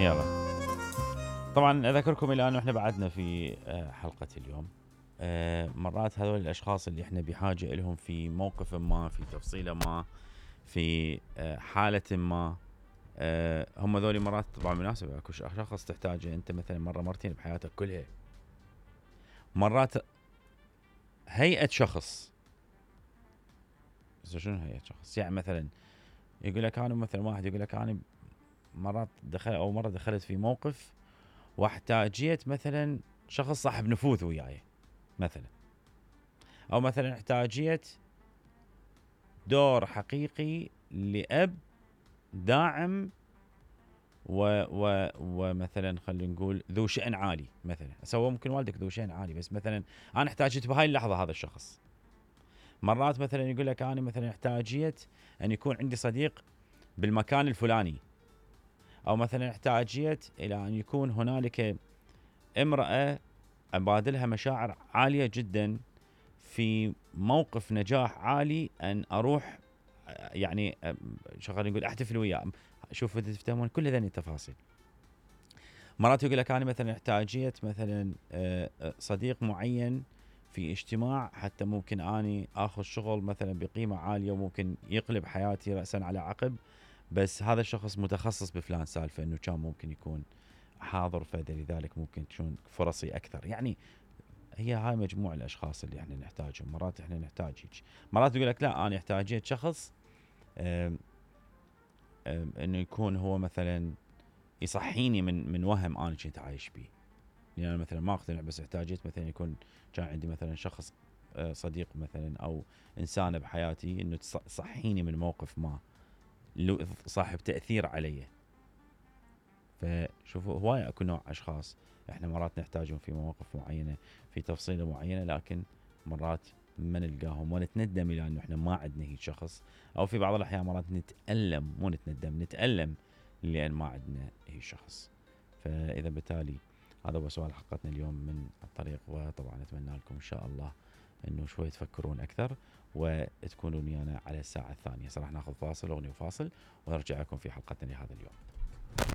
يلا طبعا اذكركم الى انه احنا بعدنا في حلقة اليوم. مرات هذول الاشخاص اللي احنا بحاجة لهم في موقف ما، في تفصيلة ما، في حالة ما، هم ذولي مرات طبعا مناسبة. اكو شخص تحتاجه انت مثلا مرة مرتين بحياتك كلها. مرات هيئة شخص، شنو هيئة شخص؟ يعني مثلا يقول لك انا، مثلا واحد يقول لك انا مرات مرة دخلت في موقف واحتاجيت مثلا شخص صاحب نفوذ وياي مثلا، او مثلا احتاجيت دور حقيقي لأب داعم ومثلا خلينا نقول ذو شأن عالي مثلا. سواء ممكن والدك ذو شأن عالي، بس مثلا انا احتاجت بهاي اللحظة هذا الشخص. مرات مثلا يقول لك انا مثلا احتاجيت ان يكون عندي صديق بالمكان الفلاني، او مثلا احتاجيت الى ان يكون هنالك امرأة ابادلها مشاعر عالية جدا في موقف نجاح عالي، ان اروح يعني شغال نقول احتفل وياه. شوفوا تفهمون كل هذه التفاصيل. مرات يقول لك انا مثلا احتاجيت مثلا صديق معين في اجتماع، حتى ممكن اني اخذ شغل مثلا بقيمة عالية وممكن يقلب حياتي رأسا على عقب، بس هذا الشخص متخصص بفلان سالفة انه كان ممكن يكون حاضر، فلذلك ممكن تكون فرصي اكثر. يعني هي هاي مجموع الاشخاص اللي احنا نحتاجهم. مرات احنا نحتاج هيك، مرات يقول لك لا انا احتاجيت شخص انه يكون هو مثلا يصحيني من وهم انا كنت عايش بيه. يعني انا مثلا ما اقتنع، بس احتاجيت مثلا يكون كان عندي مثلا شخص صديق مثلا او انسانه بحياتي انه تصحيني من موقف ما صاحب تاثير علي. فشوفوا هواي اكو نوع اشخاص احنا مرات نحتاجهم في مواقف معينه، في تفصيله معينه، لكن مرات ما نلقاهم ونتندم الى انه احنا ما عندنا هيك شخص، او في بعض الاحيان مرات نتالم، مو نتندم، نتالم لان ما عندنا هيك شخص. فاذا بالتالي هذا هو سؤال حلقتنا اليوم من الطريق، وطبعا اتمنى لكم ان شاء الله انه شوي تفكرون اكثر وتكونون ويانا على الساعه الثانيه. راح ناخذ فاصل، اغنيه وفاصل، ونرجع لكم في حلقتنا لهذا اليوم.